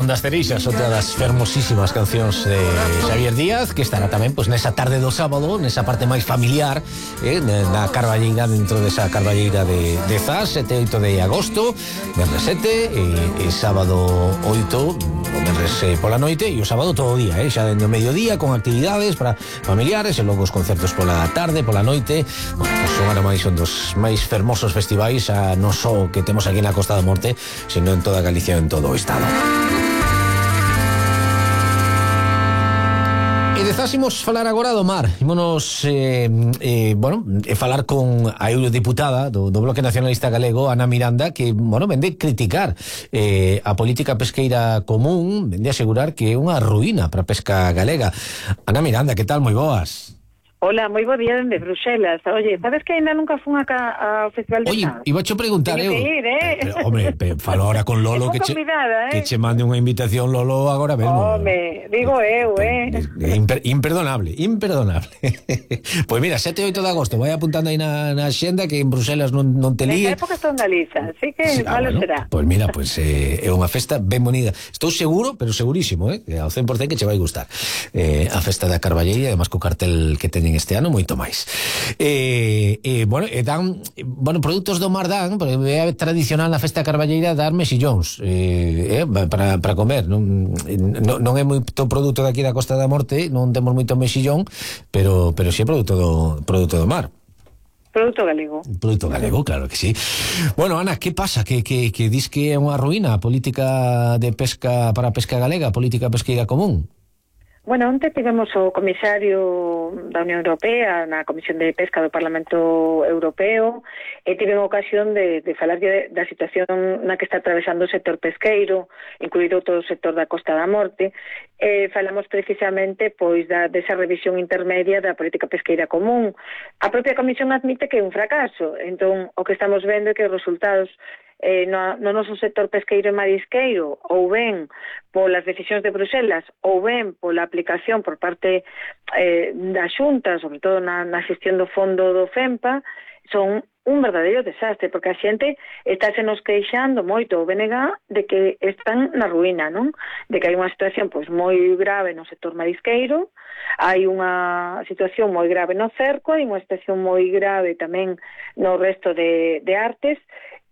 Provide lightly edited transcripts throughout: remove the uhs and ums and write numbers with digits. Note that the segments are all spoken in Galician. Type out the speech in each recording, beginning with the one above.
das Cereixas, outra das fermosísimas cancións de Xavier Díaz, que estará tamén pois nesa tarde do sábado, nesa parte máis familiar, na carballeira, dentro desa carballeira de Zas, 7 e 8 de agosto, venres 7 e sábado 8, o venres pola noite, e o sábado todo o día, xa dentro do mediodía, con actividades para familiares, e logo os concertos pola tarde, pola noite. Bueno, pois son agora máis un dos máis fermosos festivais, non só que temos aquí na Costa da Morte, sino en toda Galicia e en todo o estado. E dezásimos falar agora do mar. Ímonos falar con a eurodiputada do Bloque Nacionalista Galego, Ana Miranda, que, vende criticar a política pesqueira común, vende asegurar que é unha ruína para a pesca galega. Ana Miranda, que tal? Moi boas. Hola, moi bo día dende Bruxelas. Oye, sabes que ainda nunca fun acá ao Festival de Zas? Oye, ibacho preguntar eu. Falo ahora con Lolo que che mande unha invitación, Lolo, agora mesmo. Digo eu, Imperdonable. Pois mira, 7 e 8 de agosto, vai apuntando aí na xenda, que en Bruxelas non te líe. Nesa época estou en Galiza, así que malo será. Pois mira, é unha festa ben bonita. Estou seguro, pero segurísimo, ao 100% que che vai gustar. A festa da Carballeira, además co cartel que teñen este ano, moito máis. Dan produtos do mar, porque é tradicional na festa carballeira dar mexillóns para comer. Non é moito produto daqui da Costa da Morte, non temos moito mexillón, pero si é produto do mar. Produto galego. Produto galego, claro que sí. Bueno, Ana, que pasa? Que dis que é unha ruína a política de pesca para a pesca galega, a política pesqueira común? Bueno, onte tivemos o comisario da Unión Europea na Comisión de Pesca do Parlamento Europeo e tivemos ocasión de falar da situación na que está atravesando o sector pesqueiro, incluído todo o sector da Costa da Morte. Falamos precisamente desa revisión intermedia da política pesqueira común. A propia Comisión admite que é un fracaso. Entón, o que estamos vendo é que os resultados no noso sector pesqueiro e marisqueiro, ou ben polas decisións de Bruxelas, ou ben pola aplicación por parte da Xunta, sobre todo na xestión do fondo do FEMPA, son un verdadeiro desastre, porque a xente estáse nos queixando moito o BNG de que están na ruína, non? De que hai unha situación moi grave no sector marisqueiro, hai unha situación moi grave no cerco, hai unha situación moi grave tamén no resto de artes.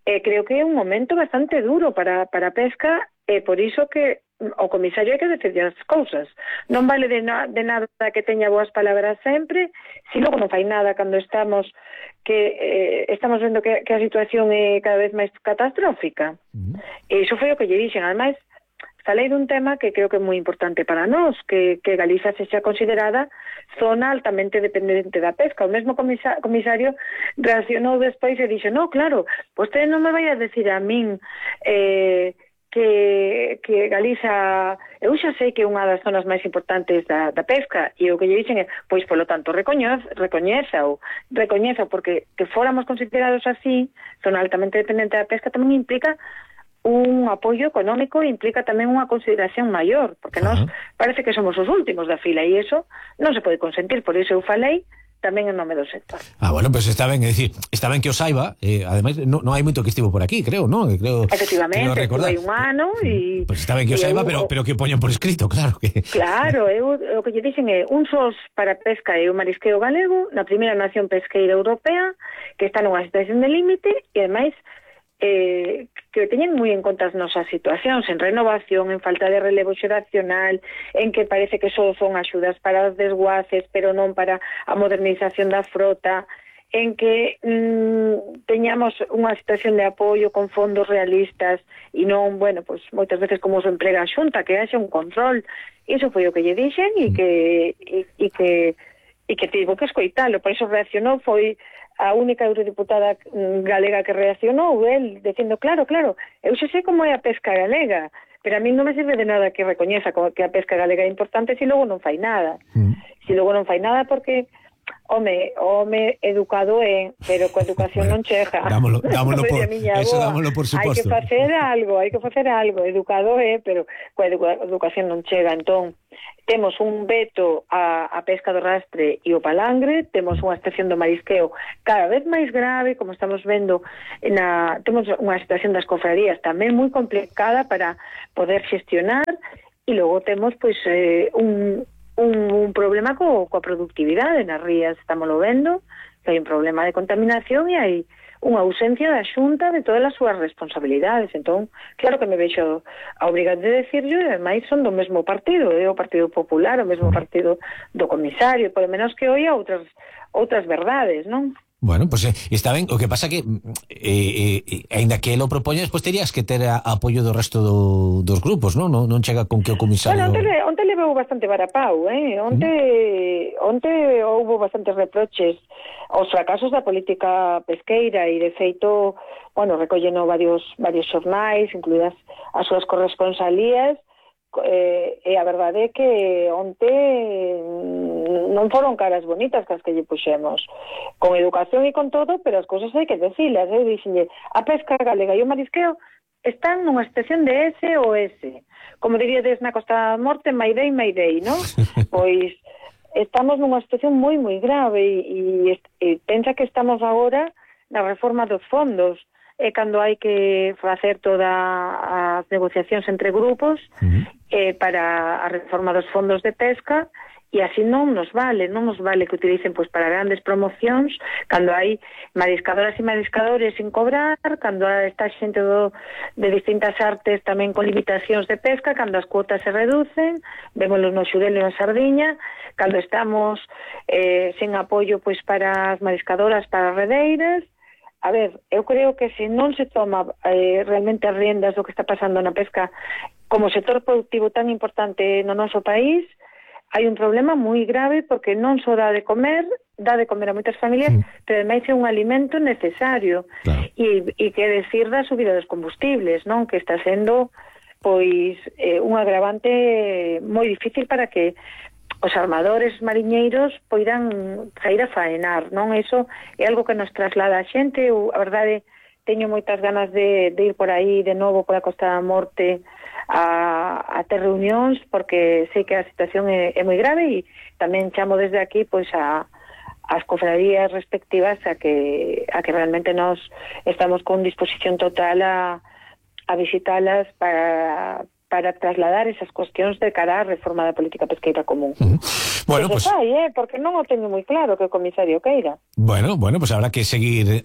Creo que é un momento bastante duro para a pesca, e por iso que o comisario hai que decidir as cousas. Non vale de nada que teña boas palabras sempre, se logo non fai nada cando estamos vendo que a situación é cada vez máis catastrófica. E iso foi o que lle dixen. Ademais, falei dun tema que creo que é moi importante para nós, que Galiza sexa considerada zona altamente dependente da pesca. O mesmo comisario reaccionou despois e dixo, no, claro, vostede non me vai a decir a min que Galiza, eu xa sei que é unha das zonas máis importantes da pesca, e o que lle dixen é, pois, polo tanto, recoñeza, porque que fóramos considerados así, zona altamente dependente da pesca, tamén implica un apoio económico, implica tamén unha consideración maior, porque nós parece que somos os últimos da fila, e iso non se pode consentir. Por iso eu falei tamén en nome do sector. Pues está ben, é dicir, está ben que o saiba, ademais non hai moito que estivo por aquí, creo, non? Efectivamente, hai un ano e... Pues está ben que o saiba, pero que o poñan por escrito, claro que... Claro, o que lle dicen é un SOS para a pesca e o marisqueo galego na primeira nación pesqueira europea, que está nunha situación de límite, e ademais que teñen moi en conta as nosas situacións en renovación, en falta de relevo xeracional, en que parece que só son axudas para os desguaces, pero non para a modernización da frota, en que teñamos unha situación de apoio con fondos realistas e non, moitas veces como se emprega a Xunta, que haxe un control. Iso foi o que lle dixen e que tivo que escoitalo. Por iso reaccionou, foi a única eurodiputada galega que reaccionou, el dicindo, claro, eu xa sei como é a pesca galega, pero a mí non me sirve de nada que recoñeza que a pesca galega é importante se logo non fai nada. Se logo non fai nada porque home educado é, pero coa educación non chega. Dámolo por suposto. Hai que facer algo, educado é, pero coa educación non chega. Entón, temos un veto a pesca do rastre e o palangre, temos unha situación do marisqueo cada vez máis grave, como estamos vendo, temos unha situación das cofradías tamén moi complicada para poder xestionar, e logo temos pois un problema coa productividade nas rías, estámoslo vendo, que hai un problema de contaminación e hai unha ausencia da Xunta de todas as súas responsabilidades. Entón, claro que me vexo obrigado de decirlo, e ademais son do mesmo partido, o Partido Popular, o mesmo partido do comisario, polo menos que oia outras verdades, non? Bueno, pues está ben, o que pasa que aínda que lo propoñes, pues terías que ter apoio do resto dos grupos, non? Non chega con que o comisario... Bueno, onte levou bastante varapau, Onte houbo bastantes reproches aos fracasos da política pesqueira e, de feito, bueno, recolleno varios xornais, incluídas as súas corresponsalías, e a verdade é que onte non foron caras bonitas que as que lle puxemos, con educación e con todo, pero as cousas hai que decilas. Eu dixenlle, a pesca galega e o marisqueo están nunha situación de SOS, como diríades na Costa da Morte, Mayday, non? Pois estamos nunha situación moi, moi grave e pensa que estamos agora na reforma dos fondos, e cando hai que facer todas as negociacións entre grupos para a reforma dos fondos de pesca, e así non nos vale que utilicen pois para grandes promocións, cando hai mariscadoras e mariscadores sin cobrar, cando está xente de distintas artes tamén con limitacións de pesca, cando as cuotas se reducen, vémoslo no xurel e na sardiña, cando estamos sen apoio pois para as mariscadoras, para as redeiras. A ver, eu creo que se non se toma realmente as riendas do que está pasando na pesca como sector productivo tan importante no noso país, hai un problema moi grave, porque non só dá de comer a moitas familias, pero ademais é un alimento necesario. Claro. E que decir da subida dos combustibles, non? Que está sendo pois un agravante moi difícil para que os armadores mariñeiros poidan sair a faenar, non? Eso é algo que nos traslada a xente. A verdade, teño moitas ganas de ir por aí de novo pola Costa da Morte a ter reunións, porque sei que a situación é moi grave, e tamén chamo desde aquí pois as cofradías respectivas a que realmente nos estamos con disposición total a visitalas para trasladar esas cuestións de cara á reforma da política pesqueira común. Bueno, pues porque non o teño moi claro que o comisario queira. Bueno, pues habrá que seguir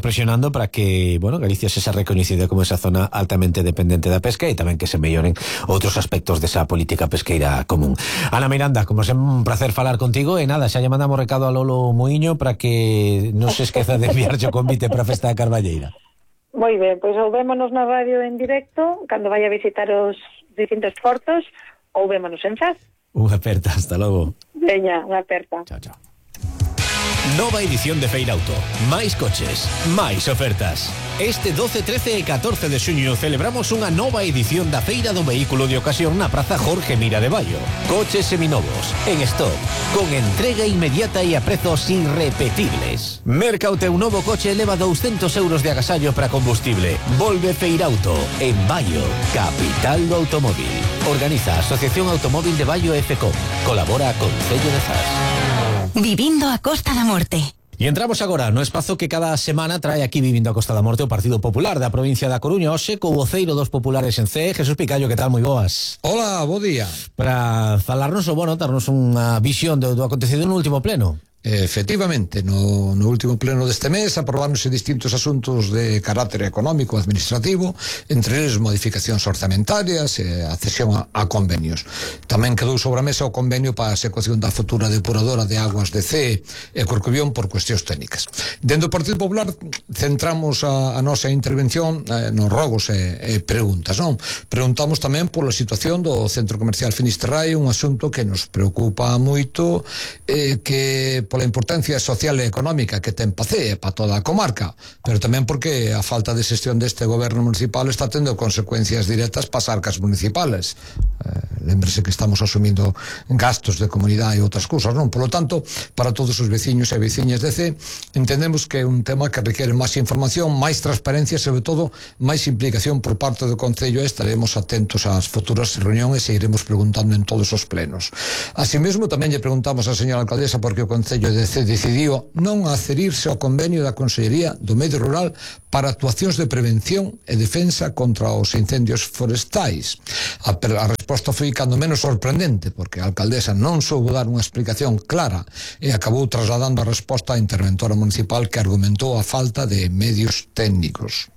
presionando para que, Galicia se recoñecida como esa zona altamente dependente da pesca, e tamén que se melloren outros aspectos desa política pesqueira común. Ana Miranda, como sempre, un placer falar contigo, e nada, xa lle mandamos recado a Lolo Muiño para que non se esqueza de enviarlle o convite para a Festa da Carballeira. Moi ben, pois ou vémonos na radio en directo cando vaya a visitar os distintos portos, ou vémonos en Zas. Unha aperta, hasta logo. Veña, unha aperta. Chao, chao. Nova edición de Feirauto. Máis coches, máis ofertas. Este 12, 13 e 14 de xuño celebramos unha nova edición da Feira do Vehículo de Ocasión na Praza Jorge Mira de Baio. Coches seminovos, en stock, con entrega inmediata e a prezos irrepetibles. Merca o teu novo coche e leva 200 euros de agasallo para combustible. Volve Feirauto, en Baio, capital do automóvil. Organiza a Asociación Automóvil de Baio FCO. Colabora con Concello de Zas. Vivindo a Costa da Morte. E entramos agora no espazo que cada semana trae aquí Vivindo a Costa da Morte o Partido Popular da provincia da Coruña, hoxe co voceiro dos populares en CEE, Jesús Picallo. Que tal? Moi boas. Hola, bo día. Para falarnos darnos unha visión do acontecido no último pleno. Efectivamente, no último pleno deste mes aprobaronse distintos asuntos de carácter económico e administrativo, entre eles modificacións orzamentarias e a cesión a convenios. Tamén quedou sobre a mesa o convenio para a execución da futura depuradora de aguas de CEE e Corcubión por cuestións técnicas. Dentro do Partido Popular centramos a nosa intervención nos rogos e preguntas, non? Preguntamos tamén pola situación do Centro Comercial Finisterrae, un asunto que nos preocupa moito, que pola importancia social e económica que ten Pacee para toda a comarca, pero tamén porque a falta de xestión deste goberno municipal está tendo consecuencias directas para as arcas municipales. Lémbrese que estamos asumindo gastos de comunidade e outras cousas, non? Por lo tanto, para todos os veciños e veciñas de CEE, entendemos que é un tema que requiere máis información, máis transparencia e, sobre todo, máis implicación por parte do Concello, e estaremos atentos ás futuras reunións e iremos preguntando en todos os plenos. Así mesmo, tamén lle preguntamos á señora alcaldesa por que o Concello de CEE decidiu non adherirse ao convenio da Consellería do Medio Rural para actuacións de prevención e defensa contra os incendios forestais. A resposta foi cando menos sorprendente, porque a alcaldesa non soubo dar unha explicación clara e acabou trasladando a resposta á interventora municipal, que argumentou a falta de medios técnicos.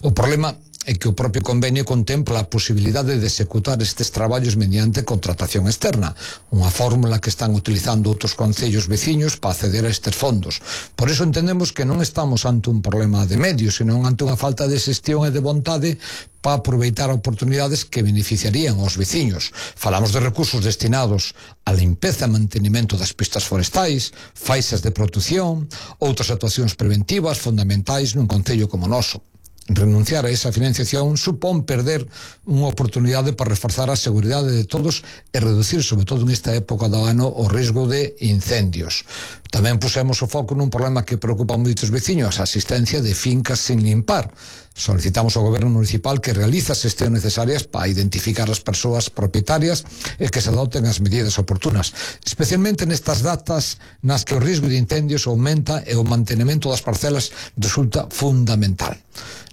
O problema é que o propio convenio contempla a posibilidade de executar estes traballos mediante contratación externa, unha fórmula que están utilizando outros concellos veciños para acceder a estes fondos. Por iso entendemos que non estamos ante un problema de medios, senón ante unha falta de xestión e de vontade para aproveitar oportunidades que beneficiarían aos veciños. Falamos de recursos destinados á limpeza e mantenimento das pistas forestais, faixas de protección, outras actuacións preventivas fundamentais nun concello como o noso. Renunciar a esa financiación supón perder unha oportunidade para reforzar a seguridade de todos e reducir, sobre todo nesta época do ano, o risco de incendios. Tamén pusemos o foco nun problema que preocupa a moitos veciños, a asistencia de fincas sin limpar. Solicitamos ao Goberno Municipal que realice as xestións necesarias para identificar as persoas propietarias e que se adopten as medidas oportunas, especialmente nestas datas nas que o risco de incendios aumenta e o mantenimento das parcelas resulta fundamental.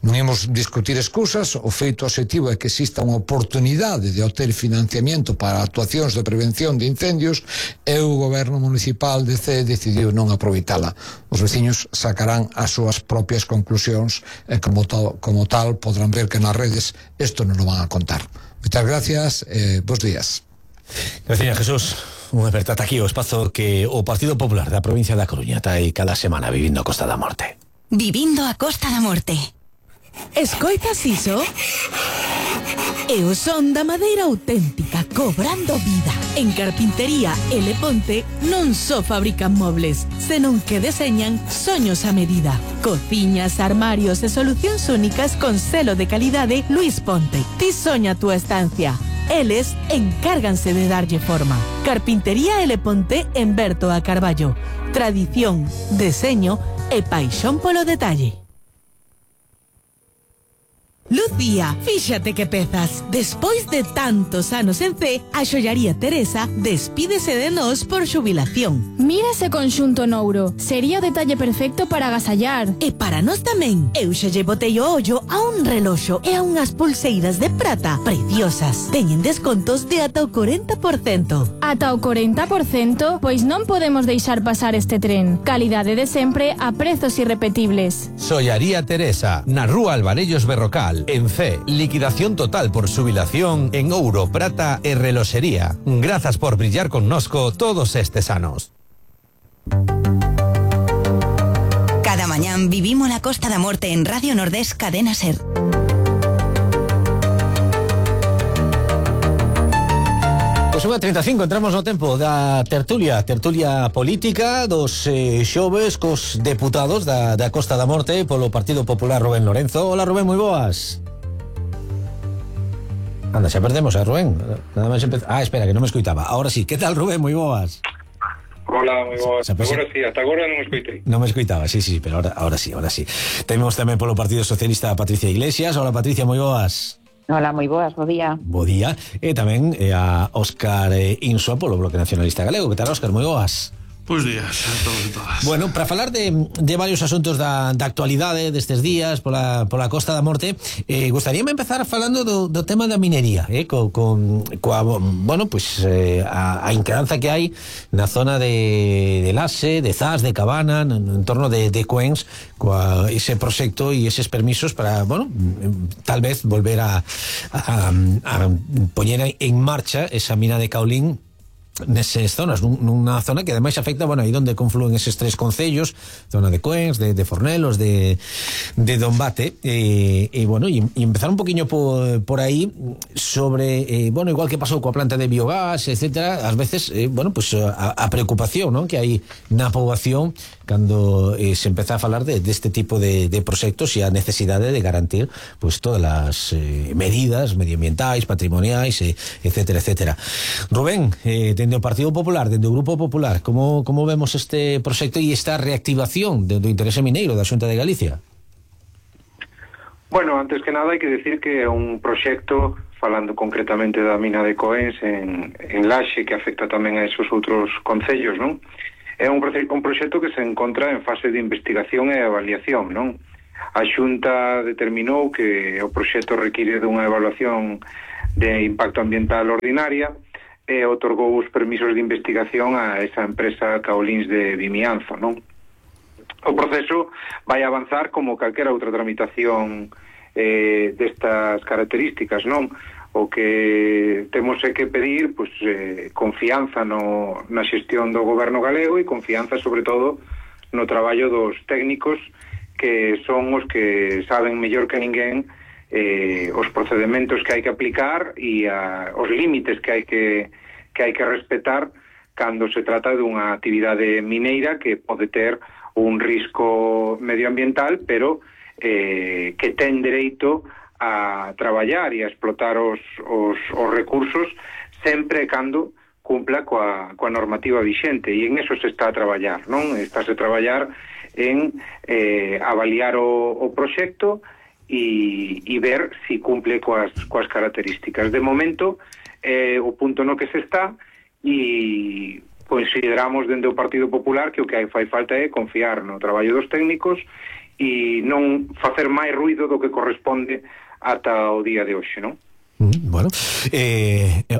Non imos discutir excusas, o feito obxectivo é que exista unha oportunidade de obter financiamento para actuacións de prevención de incendios e o Goberno Municipal de CEE decidiu non aproveitala. Os veciños sacarán as súas propias conclusións e como tal podrán ver que nas redes isto non lo van a contar. Moitas gracias e bons días. Gracias, Jesús. Unha apertada aquí o espazo que o Partido Popular da provincia da Coruña trae cada semana vivindo a Costa da Morte. Vivindo a Costa da Morte. Escoitas iso? É o son da madeira auténtica cobrando vida. En Carpintería L. Ponte non só fabrican mobles, senón que deseñan soños a medida. Cociñas, armarios e solucións únicas con selo de calidade Luis Ponte. Ti soña a túa estancia. Eles encárganse de darlle forma. Carpintería L. Ponte en Berto a Carballo. Tradición, deseño e paixón polo detalle. Lucía, fíxate que pezas. Despois de tantos anos en C, a xollaría Teresa despídese de nós por xubilación. Mira ese conxunto nouro. Sería o detalle perfecto para agasallar. E para nós tamén. Eu xa lle botei o ollo a un reloxo e a unhas pulseiras de prata preciosas. Teñen descontos de ata o 40%. Ata o 40%? Pois non podemos deixar pasar este tren. Calidade de sempre a prezos irrepetibles. Xollaría Teresa, na rúa Alvarellos Berrocal. En C, liquidación total por xubilación en ouro, prata e reloxería. Grazas por brillar connosco todos estes anos. Cada mañán vivimos la Costa da Morte en Radio Nordés Cadena Ser. Pois 1:35, entramos no tempo da tertulia política dos xoves cos deputados da Costa da Morte polo Partido Popular Rubén Lorenzo. Hola Rubén, moi boas. Anda, xa perdemos a Rubén. Nada máis espera, que non me escoitaba. Ahora sí, que tal Rubén, moi boas. Hola, moi boas. Agora sí, hasta agora non me escoitei. Non me escoitaba, sí, pero ahora sí. Temos tamén polo Partido Socialista a Patricia Iglesias. Hola Patricia, moi boas. Hola, moi boas, bo día. Bo día. E tamén a Óscar Insua polo Bloque Nacionalista Galego. Que tal, Óscar? Moi boas. Pois días a todos e todas. Bueno, para falar de varios asuntos da actualidade destes días pola Costa da Morte, gostaríame empezar falando do tema da minería, coa bueno, pues a inquedanza que hai na zona de Laxe, de Zas, de Cabana, en torno de Cuens, coa ese proxecto e eses permisos para, bueno, tal vez volver a poñer en marcha esa mina de Caolín neses zonas, nunha zona que ademais afecta, bueno, aí onde confluen eses tres concellos, zona de Cuens, de Fornelos, de Dombate, e bueno, e empezar un poquinho por aí sobre, bueno, igual que pasou coa planta de biogás, etcétera, ás veces, bueno, pues a preocupación, ¿no?, que hai na poboación cando se empeza a falar deste tipo de proxectos e a necesidade de garantir pues todas as medidas medioambientais, patrimoniais, etcétera, etcétera. Rubén, dende o Partido Popular, dende o Grupo Popular, como vemos este proxecto e esta reactivación do interese mineiro da Xunta de Galicia? Bueno, antes que nada hai que decir que é un proxecto, falando concretamente da mina de Coens en Laxe, que afecta tamén a esos outros concellos, non? É un proxecto que se encontra en fase de investigación e avaliación, non? A Xunta determinou que o proxecto require dunha evaluación de impacto ambiental ordinaria e otorgou os permisos de investigación a esa empresa Caolins de Vimianzo, non? O proceso vai avanzar como calquera outra tramitación destas características, non? O que temos é que pedir pois, confianza na xestión do goberno galego e confianza sobre todo no traballo dos técnicos que son os que saben mellor que ninguén os procedementos que hai que aplicar e os límites que hai que respetar cando se trata dunha actividade mineira que pode ter un risco medioambiental pero que ten dereito a traballar e a explotar os recursos sempre cando cumpla coa normativa vixente e en eso se está a traballar, non? Estáse a traballar en avaliar o proxecto e ver si cumple coas características. De momento, o punto no que se está e consideramos dende o Partido Popular que o que fai falta é confiar no traballo dos técnicos e non facer máis ruido do que corresponde ata o día de hoxe, non? Bueno,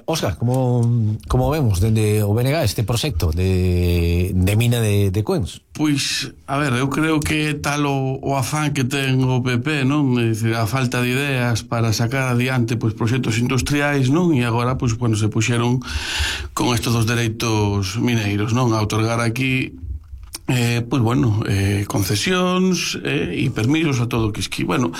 Óscar, como vemos dende o BNG este proxecto de mina de Coens? Pois, a ver, eu creo que tal o afán que ten o PP, non? É dicir, a falta de ideas para sacar adiante pois proxectos industriais, non? E agora, pois, se puxeron con estes dos dereitos mineiros, non? A outorgar aquí concesións e permisos a todo o que esqui. Bueno,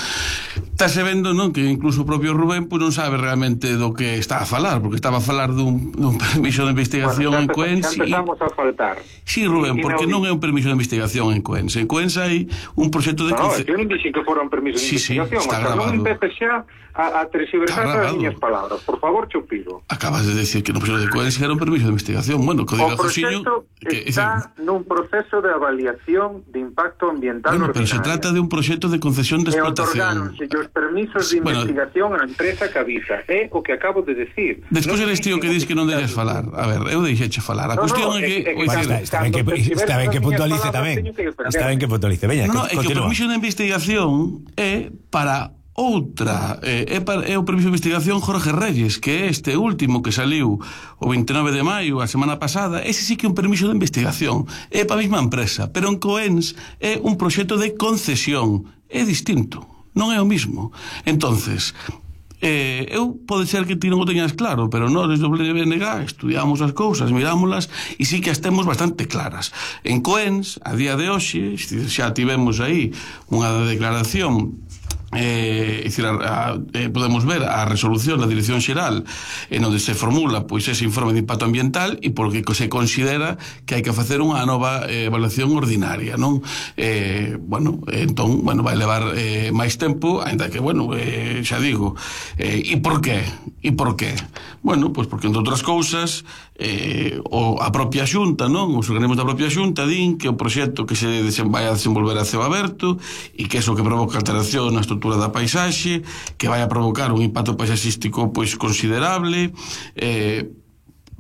estáse vendo, non, que incluso o propio Rubén non sabe realmente do que está a falar, porque estaba a falar dun permiso de investigación en Coens. Já empezamos a faltar. Sí, Rubén, porque non é un permiso de investigación en Coens. En Coens hai un proxecto de... No, eu non dixen que fora un permiso de investigación. Está grabado. Non empece xa a terxiversar as miñas palabras. Por favor, Chupiro. Acabas de decir que no proxecto de Coens era un permiso de investigación. Bueno, que diga Josiño... O proxecto está nun proceso de avaliación de impacto ambiental ordinario. Pero se trata de un proxecto de concesión de explotación. E otorgáronse os permisos de investigación á empresa Cabisa. É o que acabo de decir. Despois eres tío que dis que non deixas falar. A ver, eu deixeche falar. A cuestión é que... Está ben que puntualice tamén. Está ben que puntualice. Veña, continúa. É que o permiso de investigación é para outra, é o permiso de investigación Jorge Reyes, que é este último que saliu o 29 de maio a semana pasada. Ese sí que é un permiso de investigación, é para a mesma empresa, pero en Coens é un proxecto de concesión, é distinto, non é o mismo. Entonces, eu pode ser que ti non o teñas claro, pero nós desde o BNG estudiamos as cousas, mirámolas e sí que as temos bastante claras. En Coens, a día de hoxe, xa tivemos aí unha declaración, podemos ver a resolución da Dirección Xeral en onde se formula pois ese informe de impacto ambiental e porque se considera que hai que facer unha nova evaluación ordinaria, non? Entón, vai levar máis tempo, ainda que, xa digo, e por qué? Bueno, pois porque entre outras cousas a propia Xunta, non? Os organismos da propia Xunta din que o proxecto que se vai a desenvolver a ceo aberto e que iso que provoca alteración na estrutura da paisaxe, que vai a provocar un impacto paisaxístico pois considerable.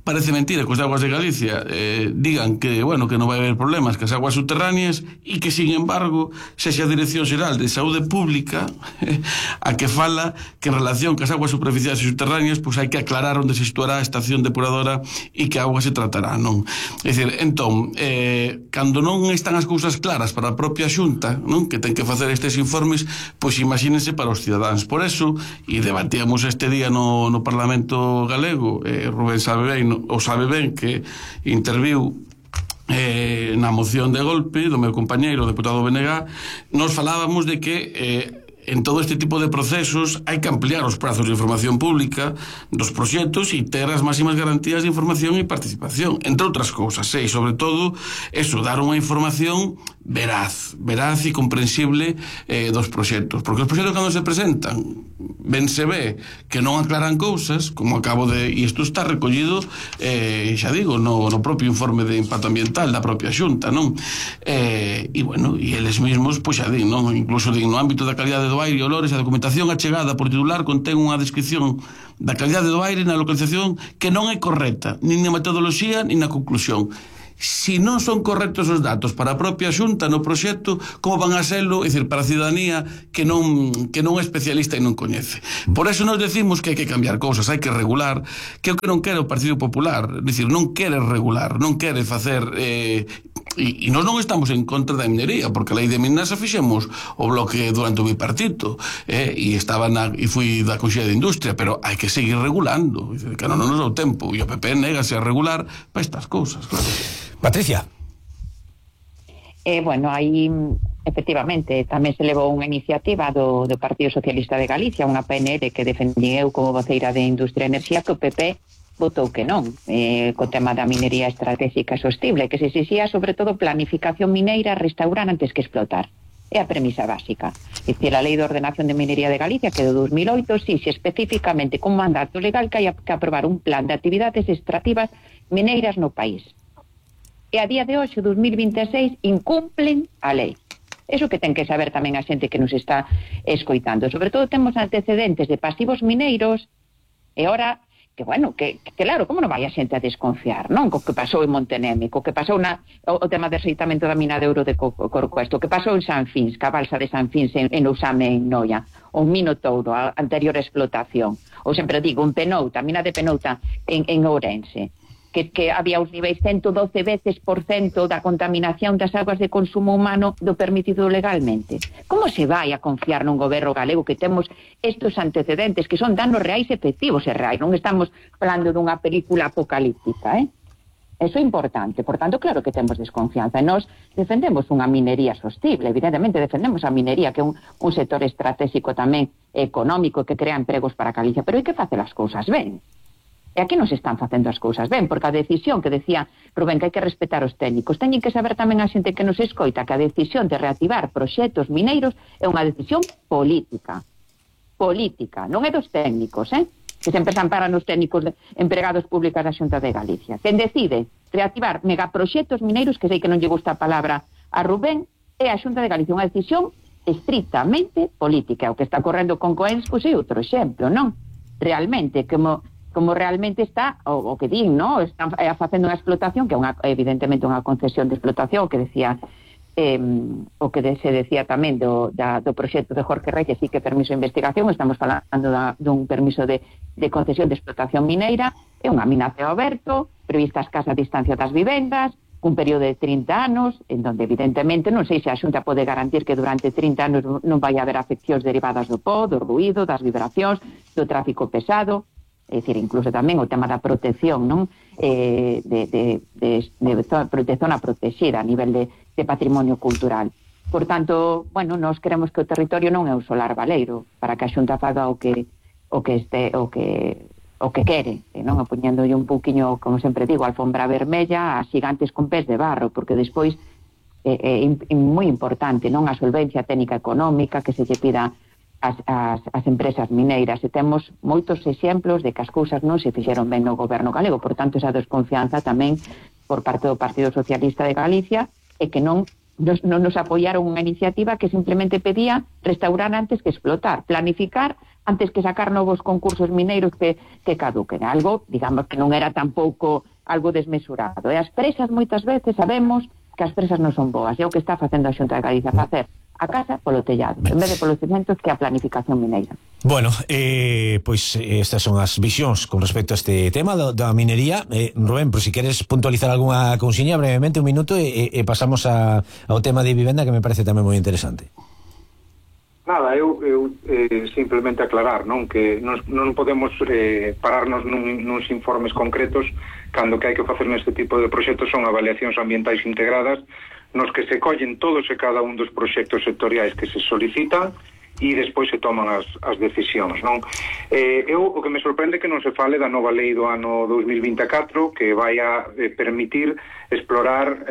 Parece mentira que os de Aguas de Galicia digan que non vai haber problemas que as aguas subterráneas e que, sin embargo, sexa a Dirección Xeral de Saúde Pública a que fala que en relación que as aguas superficiais e subterráneas pois hai que aclarar onde se situará a estación depuradora e que a auga se tratará, non? É dicir, entón, cando non están as cousas claras para a propia Xunta, non, que ten que facer estes informes, pois imagínense para os cidadáns. Por eso, e debatíamos este día no Parlamento Galego, Rubén sabe ben que interviu na moción de golpe do meu compañeiro, o deputado BNG. Nos falábamos de que en todo este tipo de procesos hai que ampliar os prazos de información pública dos proxectos e ter as máximas garantías de información e participación, entre outras cousas, e sobre todo eso, dar unha información veraz e comprensible dos proxectos, porque os proxectos cando se presentan ben se ve que non aclaran cousas, como acabo de, e isto está recollido xa digo, no propio informe de impacto ambiental da propia Xunta, non? E eles mesmos, pois xa din, non? Incluso din, no ámbito da calidade do aire e olores, a documentación achegada por titular contén unha descripción da calidade do aire na localización que non é correcta, nin na metodoloxía nin na conclusión. si non son correctos os datos para a propia Xunta no proxecto, como van a serlo, é dicir, para a ciudadanía que non é especialista e non coñece. Por eso nos decimos que hai que cambiar cousas, hai que regular, que é o que non quere o Partido Popular, é dicir, non quere regular, non quere facer e nós non estamos en contra da minería, porque a lei de minas a fixemos o bloque durante o bipartito, e fui da Conxella de Industria, pero hai que seguir regulando, que non nos dá o tempo, e o PP négase a regular para estas cousas, claro. Patricia. Bueno, aí efectivamente tamén se levou unha iniciativa do Partido Socialista de Galicia, unha PNL que defendí eu como voceira de Industria e Enerxía, que o PP votou que non, co tema da minería estratégica e sostible, que se exixía sobre todo planificación mineira, restaurar antes que explotar. É a premisa básica. É dicir, a Lei de Ordenación de Minería de Galicia, que de 2008, exixe especificamente con mandato legal que hai que aprobar un plan de actividades extractivas mineiras no país. E a día de hoxe, 2026, incumplen a lei. Eso que ten que saber tamén a xente que nos está escoitando. Sobre todo temos antecedentes de pasivos mineiros e ora, que bueno, que claro, como non vai a xente a desconfiar, non? Co que pasou en Montenémico, que pasou o tema de rexeitamento da mina de ouro de Corcoesto, que pasou en San Fins, que a balsa de San Fins en Ousame en Noia, o Minotouro, a anterior explotación, ou sempre digo, un Penouta, a mina de Penouta en Ourense, que había os niveis 112 veces por cento da contaminación das aguas de consumo humano do permitido legalmente. Como se vai a confiar nun goberno galego que temos estes antecedentes que son danos reais efectivos e reais? Non estamos falando dunha película apocalíptica, Eso é importante. Por tanto, claro que temos desconfianza. E nós defendemos unha minería sostible. Evidentemente defendemos a minería, que é un sector estratégico tamén económico que crea empregos para Galicia. Pero hai que facer as cousas ben. E aquí non se están facendo as cousas ben, porque a decisión que decía Rubén que hai que respetar os técnicos, teñen que saber tamén a xente que nos escoita que a decisión de reactivar proxectos mineiros é unha decisión política, non é dos técnicos, que sempre se amparan os técnicos empregados públicos da Xunta de Galicia. Quen decide reactivar megaproxectos mineiros, que sei que non lle gusta a palabra a Rubén, é a Xunta de Galicia, unha decisión estritamente política. O que está correndo con Coenscos é outro exemplo, non? Realmente, como realmente está o que din, ¿no? Están facendo unha explotación que é evidentemente unha concesión de explotación, que decía o que se decía tamén do proxecto de Jorge Rey, que sí que permiso de investigación. Estamos falando dun permiso de concesión de explotación mineira. É unha mina a ceo aberto, prevista a escasa distancia das vivendas, cun período de 30 anos, en donde evidentemente non sei se a Xunta pode garantir que durante 30 anos non vai haber afeccións derivadas do po, do ruído, das vibracións, do tráfico pesado. É dicir, incluso tamén o tema da protección, non? De zona protegida a nivel de patrimonio cultural. Por tanto, bueno, nós queremos que o territorio non é un solar baleiro para que a Xunta faga o que quere, non? Poñéndolle un pouquiño, como sempre digo, alfombra vermella a xigantes con pés de barro, porque despois é moi importante, non? A solvencia técnica económica que se lle pida as empresas mineiras, e temos moitos exemplos de que as cousas non se fixeron ben no goberno galego. Por tanto, esa desconfianza tamén por parte do Partido Socialista de Galicia, e que non nos apoiaron unha iniciativa que simplemente pedía restaurar antes que explotar, planificar antes que sacar novos concursos mineiros que caduquen. Algo, digamos, que non era tampouco algo desmesurado. E as presas moitas veces sabemos que as presas non son boas. É o que está facendo a Xunta de Galicia, facer a casa polo tellado, en vez de polos cementos, que a planificación mineira. Bueno, pois estas son as visións con respecto a este tema da minería. Rubén, por si queres puntualizar algunha cousiña brevemente, un minuto, e pasamos ao tema de vivenda, que me parece tamén moi interesante. Nada, eu simplemente aclarar, non, que non podemos pararnos nuns informes concretos cando que hai que facer neste tipo de proxectos son avaliacións ambientais integradas nos que se collen todos e cada un dos proxectos sectoriais que se solicitan e despois se toman as decisións, non? O que me sorprende que non se fale da nova lei do ano 2024 que vai a permitir explotar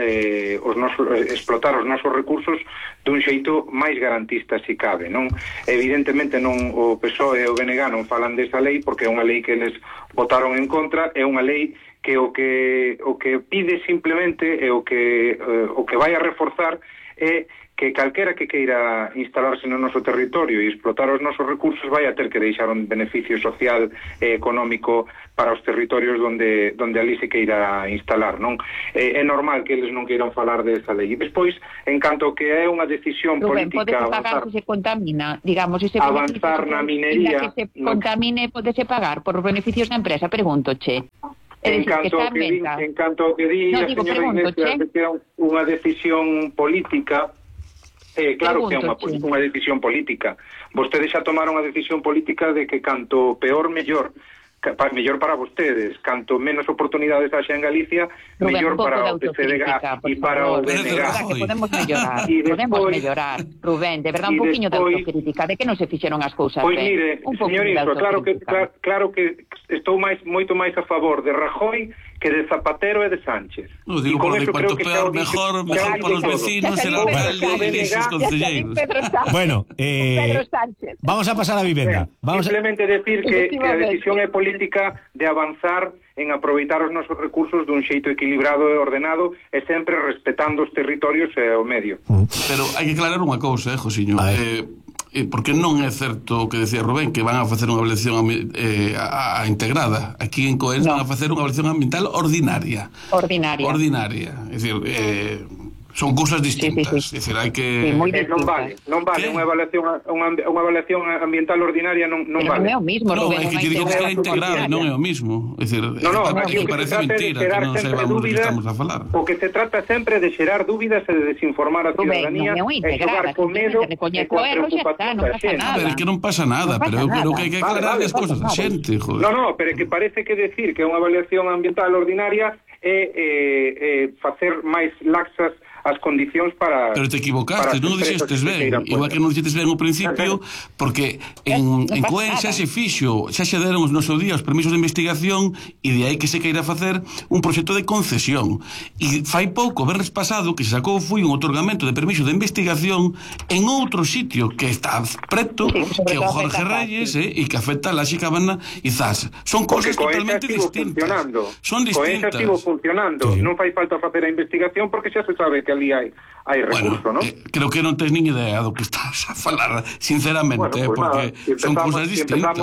os nosos recursos dun xeito máis garantista se cabe, non? Evidentemente non o PSOE e o BNG non falan desa lei porque é unha lei que eles votaron en contra, é unha lei que o que pide simplemente e o que vai a reforzar é que calquera que queira instalarse no noso territorio e explotar os nosos recursos vai a ter que deixar un beneficio social e económico para os territorios donde ali se queira instalar, non? É normal que eles non queiran falar desa lei. E despois, en canto que é unha decisión política pagar se se contamina, digamos, ese avanzar na minería, que se contamine, podese pagar por os beneficios da empresa, pregúntoche. En canto que di a señora Iglesias que é unha decisión política, claro que é unha decisión política. Vostedes xa tomaron a decisión política de que canto peor, mellor para vostedes, canto menos oportunidades haxa en Galicia, mellor para o PCDG e para o BNG. Podemos mellorar, Rubén, de verdad, un poquinho de autocrítica, de que non se fixeron as cousas ben. Pois mire, señor Iso, claro que estou moito máis a favor de Rajoy que de Zapatero e de Sánchez. No, digo, porque cuanto peor, mejor para os vecinos, el alcalde e esos concelleiros. Bueno, vamos a pasar a vivenda. Simplemente decir que a decisión é política de avanzar en aproveitar os nosos recursos dun xeito equilibrado e ordenado e sempre respetando os territorios e o medio. Pero hai que aclarar unha cousa, Josiño. Porque non é certo o que decía Rubén que van a facer unha avaliación integrada. Aquí en Coens van a facer unha avaliación ambiental ordinaria. É dicir, son cousas distintas. É dicir, hai que... Non vale unha evaluación ambiental ordinaria, non vale. Non é o mismo, Rubén. Non, é que digo que é integrada, non é o mismo. É dicir, parece mentira que non saibamos do que estamos a falar. O que se trata sempre de xerar dúbidas e de desinformar a ciudadanía e xogar con medo e con preocupación da xente. Pero é que non pasa nada, pero eu creo que hai que aclarar as cousas da xente, joder. Non, pero é que parece que decir que é unha evaluación ambiental ordinaria é facer máis laxas as condicións para... Pero te equivocaste, non o dixestes ben. Igual que non dixestes ben ao principio, porque en Coen xa se fixo, xa se deron no seu día os permisos de investigación e de aí que se queira facer un proxecto de concesión. E fai pouco, verres pasado, que se sacou foi un otorgamento de permiso de investigación en outro sitio que está preto, que é o Jorge Reyes, e que afecta a Laxe Cabana e Zas. Son cousas totalmente distintas. Son distintas. Coen xa estivo funcionando. Non fai falta facer a investigación porque xa se sabe que ali hai recurso, non? Creo que non tens nin idea do que estás a falar, sinceramente, porque son cousas distintas.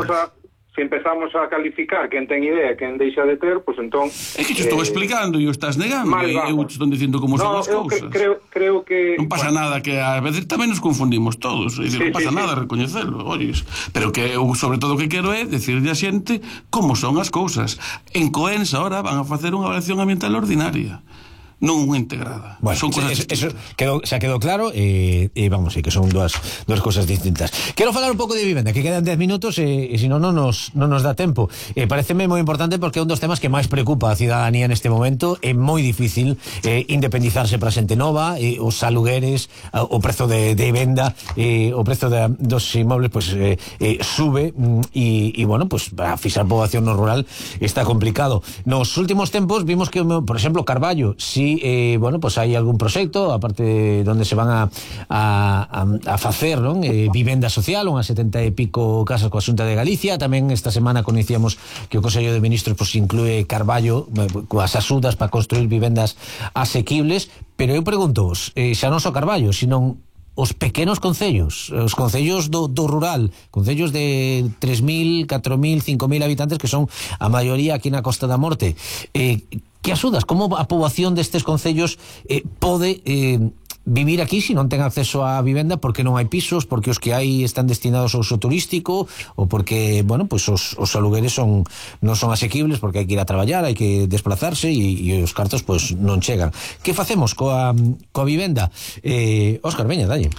Se empezamos a calificar quen ten idea, quen deixa de ter, pois entón... É que te estou explicando e o estás negando, e eu te estou dicindo como son as cousas. Creo que... Non pasa nada, que a veces tamén nos confundimos todos, non pasa nada recoñecelo, olles. Pero que eu, sobre todo, o que quero é decirle a xente como son as cousas. En Coens, ahora, van a facer unha evaluación ambiental ordinaria, non unha integrada. Bueno, son cosas eso xa quedou claro, vamos, que son dúas cosas distintas. Quero falar un pouco de vivenda, que quedan 10 minutos e se non nos dá tempo. Pareceme moi importante porque é un dos temas que máis preocupa a cidadanía neste momento. É moi difícil independizarse para xente nova, os alugueres, o prezo de venda, o prezo dos inmobles pues sube e bueno, pues para fixar poboación no rural está complicado. Nos últimos tempos vimos que, por exemplo, Carballo, bueno, pues hai algún proxecto aparte donde se van a facer, non? Vivenda social, unhas 70 e pico casas coa Xunta de Galicia. Tamén esta semana coñecíamos que o Consello de Ministros pues inclúe Carballo coas axudas para construir vivendas asequibles, pero eu pregunto-vos, xa non só Carballo, sino os pequenos concellos, os concellos do rural, concellos de 3.000, 4.000, 5.000 habitantes, que son a maioría aquí na Costa da Morte, que axudas? Como a poboación destes concellos pode vivir aquí se non ten acceso á vivenda porque non hai pisos, porque os que hai están destinados ao uso turístico ou porque, bueno, pues os alugueres non son asequibles porque hai que ir a traballar, hai que desplazarse e os cartos pues non chegan. Que facemos coa vivenda? Óscar, veña, dalle.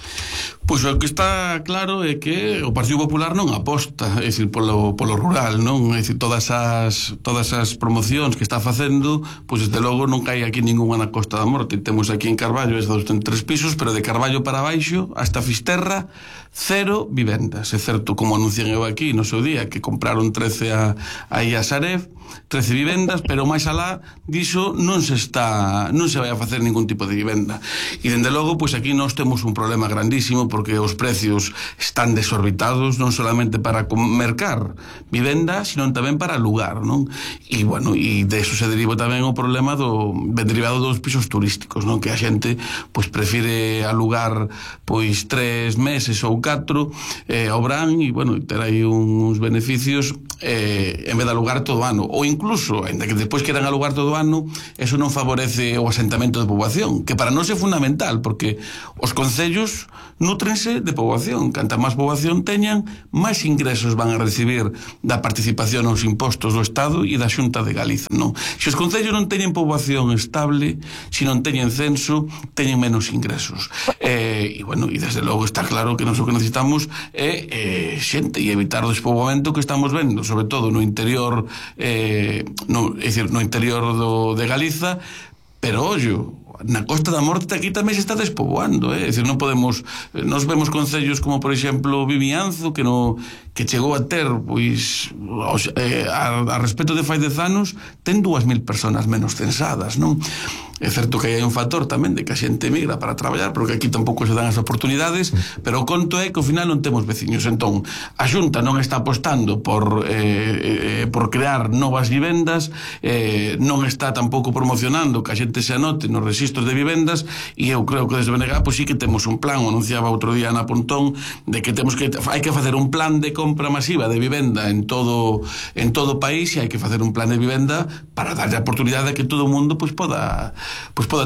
Pois o que está claro é que o Partido Popular non aposta, é dicir, polo rural, non? É dicir, todas as promocións que está facendo, pois desde logo non cae aquí ninguna na Costa da Morte. Temos aquí en Carballo estes 3 pisos, pero de Carballo para baixo hasta Fisterra 0 vivendas. É certo, como anuncian eu aquí no seu día, que compraron 13 aí a Sareb, 13 vivendas, pero máis alá diso non se vai a facer ningún tipo de vivenda. E dende logo, pois aquí nós temos un problema grandísimo porque os precios están desorbitados, non solamente para mercar vivenda, sino tamén para alugar, non? E bueno, e de eso se deriva tamén o problema derivado dos pisos turísticos, non? Que a xente pois prefire alugar pois 3 meses ou 4 ao verán e, bueno, ter aí uns beneficios en vez de alugar todo o ano, ou incluso, ainda que depois queran alugar todo o ano, eso non favorece o asentamento de poboación, que para nós é fundamental, porque os concellos nútrense de poboación. Canta máis poboación teñan, máis ingresos van a recibir da participación aos impostos do Estado e da Xunta de Galiza, non? Se os concellos non teñen poboación estable, se non teñen censo, teñen menos ingresos. E, bueno, e desde logo está claro que nós o que necesitamos é xente e evitar o despoboamento que estamos vendo, sobre todo no interior, é dicir, no interior de Galiza, pero ollo, na Costa da Morte aquí tamén se está despoboando, é dicir, non podemos, nos vemos concellos como por exemplo Vimianzo, que chegou a ter, pois, a respecto de fai 10 anos, ten 2.000 personas menos censadas, non? É certo que hai un factor tamén de que a xente migra para traballar, porque aquí tampouco se dan as oportunidades, pero o conto é que ao final non temos veciños. Entón, a Xunta non está apostando por crear novas vivendas, non está tampouco promocionando que a xente se anote nos registros de vivendas, e eu creo que desde BNG pois sí que temos un plan, o anunciaba outro día Ana Pontón, de que hai que facer un plan de compra masiva de vivenda en todo o país, e hai que facer un plan de vivenda para darlle a oportunidade de que todo o mundo pois poda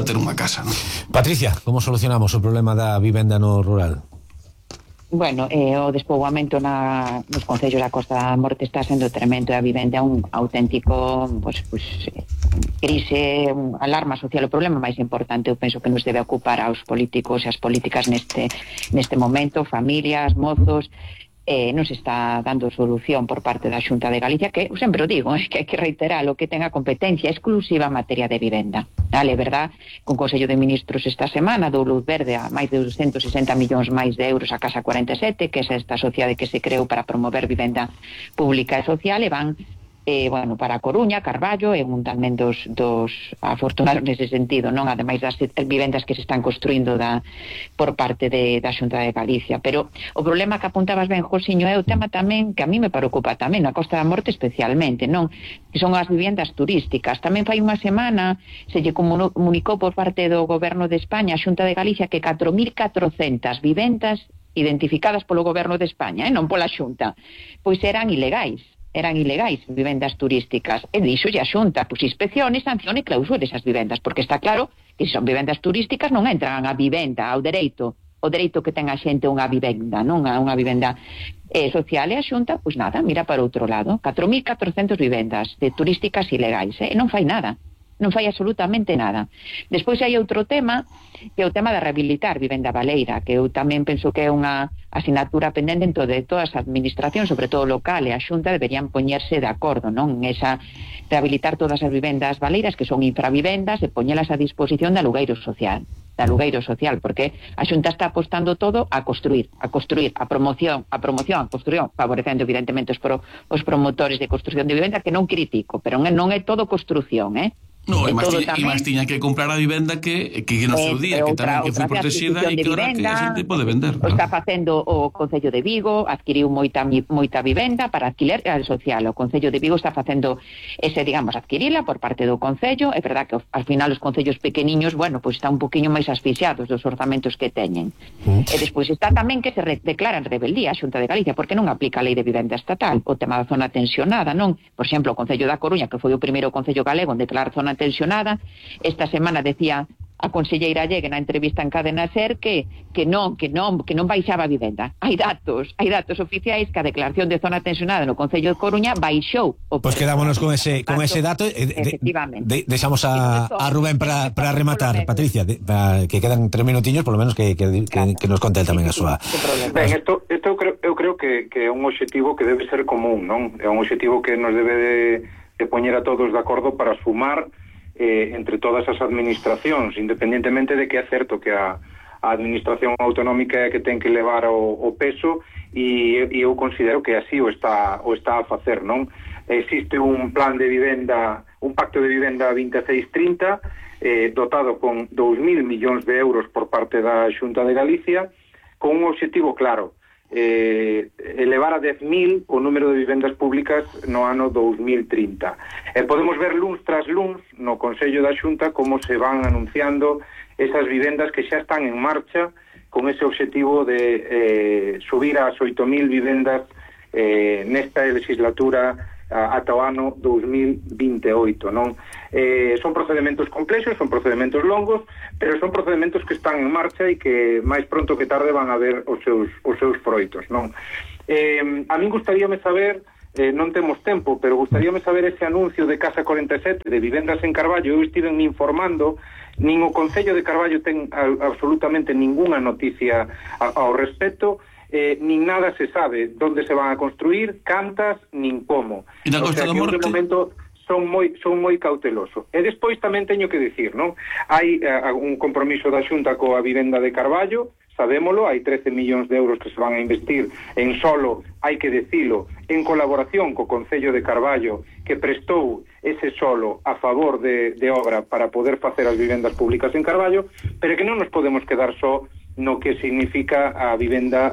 ter unha casa, non? Patricia, como solucionamos o problema da vivenda no rural? Bueno, o despoboamento nos concellos da Costa da Morte está sendo tremendo, e a vivenda é un auténtico crise, alarma social. O problema máis importante, eu penso que nos debe ocupar aos políticos e as políticas neste momento, familias, mozos. Non se está dando solución por parte da Xunta de Galicia, que eu sempre o digo, que hai que reiterar o que ten a competencia exclusiva en materia de vivenda. Vale, verdad, con Consello de Ministros esta semana dou luz verde a máis de 260 millóns máis de euros a Casa 47, que é esta sociedade que se creou para promover vivenda pública e social, e van para a Coruña, Carballo, e un tamén dos afortunados nese sentido, non? Ademais das vivendas que se están construindo por parte da Xunta de Galicia. Pero o problema que apuntabas ben, Josiño, é o tema tamén que a mí me preocupa tamén, na Costa da Morte especialmente, non? Que son as vivendas turísticas. Tamén fai unha semana se lle comunicou por parte do Goberno de España, a Xunta de Galicia, que 4.400 vivendas identificadas polo Goberno de España, non pola Xunta, pois eran ilegais, vivendas turísticas. E dixo a Xunta, pois inspeccione, sancione e clausure esas vivendas, porque está claro que se son vivendas turísticas non entran a vivenda, ao dereito que ten a xente unha vivenda, non unha vivenda social, e a Xunta, pois nada, mira para outro lado. 4.400 vivendas turísticas ilegais, e non fai nada. Non fai absolutamente nada. Despois hai outro tema, que é o tema de rehabilitar vivenda baleira, que eu tamén penso que é unha asignatura pendente en de todas as administracións, sobre todo local, e a Xunta deberían poñerse de acordo, non? Esa rehabilitar todas as vivendas baleiras que son infravivendas e poñelas a disposición de alugueiro social, porque a Xunta está apostando todo a construir, a promoción, favorecendo evidentemente os promotores de construción de vivenda, que non critico, pero non é todo construción, No, e máis tiña que comprar a vivenda que no seu día, que tamén que foi protegida e que ahora que a xente pode vender. O está facendo o Concello de Vigo, adquiriu moita vivenda para alquiler social. O Concello de Vigo está facendo adquirila por parte do Concello. É verdad que ao final os concellos pequeniños, pois están un poquinho máis asfixiados dos orzamentos que teñen. E despois está tamén que se declaran rebeldía a Xunta de Galicia, porque non aplica a lei de vivenda estatal, o tema da zona tensionada, non? Por exemplo, o Concello da Coruña, que foi o primeiro concello galego en declarar zona tensionada, esta semana decía a conselleira Llegue na entrevista en Cadena SER que non baixaba a vivenda. Hai datos oficiais que a declaración de zona tensionada no Concello de Coruña baixou. Pois quedámonos con ese dato. Efectivamente. Deixamos a Rubén para rematar, Patricia, que quedan 3 minutiños, por lo menos que nos conte tamén a súa. Ben, isto eu creo que é un obxectivo que debe ser común, non? É un obxectivo que nos debe de poñer a todos de acordo para sumar entre todas as administracións, independentemente de que é certo que a administración autonómica é que ten que levar o peso, e eu considero que así o está a facer, non? Existe un plan de vivenda, un pacto de vivenda 26-30, dotado con 2.000 millóns de euros por parte da Xunta de Galicia, con un obxectivo claro, elevar a 10.000 o número de vivendas públicas no ano 2030. Podemos ver luns tras luns no Consello da Xunta como se van anunciando esas vivendas que xa están en marcha con ese objetivo de subir ás 8.000 vivendas nesta legislatura ata o ano 2028, non? Son procedementos complexos, son procedementos longos, pero son procedementos que están en marcha e que máis pronto que tarde van a ver os seus froitos, non? A min gustaríame saber, non temos tempo, pero gustaríame saber ese anuncio de Casa 47 de vivendas en Carballo. Eu estive me informando, nin o Concello de Carballo ten absolutamente ninguna noticia ao respecto, nin nada se sabe onde se van a construir, cantas, nin como. E na Costa da Morte? De momento son moi cauteloso. E despois tamén teño que dicir, non? Hai un compromiso da Xunta coa vivenda de Carballo, sabémolo, hai 13 millóns de euros que se van a investir en solo, hai que decilo, en colaboración co Concello de Carballo, que prestou ese solo a favor de obra para poder facer as vivendas públicas en Carballo, pero que non nos podemos quedar só no que significa a vivenda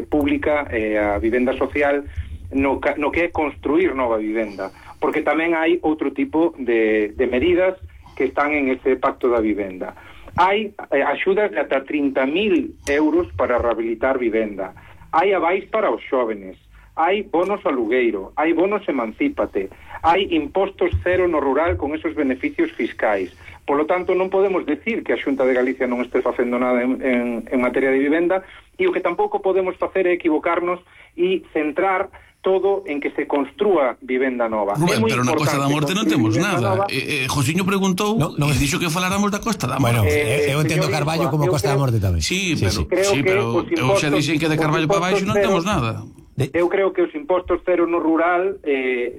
pública, a vivenda social, no que é construir nova vivenda, porque tamén hai outro tipo de medidas que están en ese pacto da vivenda. Hai axudas de ata 30.000 euros para rehabilitar vivenda, hai avais para os xóvenes, hai bonos alugueiro, hai bonos emancípate, hai impostos cero no rural con esos beneficios fiscais. Polo tanto, non podemos decir que a Xunta de Galicia non este facendo nada en materia de vivenda, e o que tampouco podemos facer é equivocarnos e centrar todo en que se construa vivenda nova. Rubén, pero na Costa da Morte non temos nada. Josiño preguntou e dixo que faláramos da Costa da Morte. Bueno, eu entendo Carballo como Costa da Morte tamén. Sí, pero eu xa dixen que de Carballo para baixo non temos nada. Eu creo que os impostos cero no rural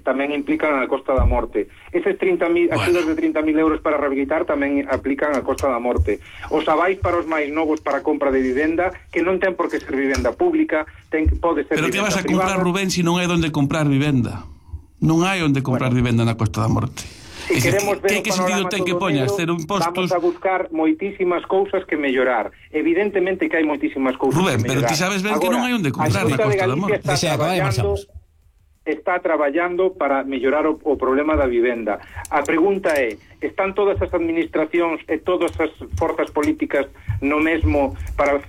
tamén implican a Costa da Morte. Eses 30.000 axudas de 30.000 euros para rehabilitar tamén aplican a Costa da Morte. Os avais para os máis novos para a compra de vivenda, que non ten por que ser vivenda pública, pode ser pero vivenda privada. Pero que vas a comprar, Rubén, se non hai onde comprar vivenda? Non hai onde comprar vivenda na Costa da Morte. Si queremos ver que sentido ten que poñas ter impostos? Vamos a buscar moitísimas cousas que mellorar. Evidentemente que hai moitísimas cousas Rubén, que mellorar. Pero ti sabes ben que non hai onde comprar na Costa da Morte. Está traballando para mellorar o problema da vivenda. A pregunta é, están todas as administracións e todas as forzas políticas no mesmo para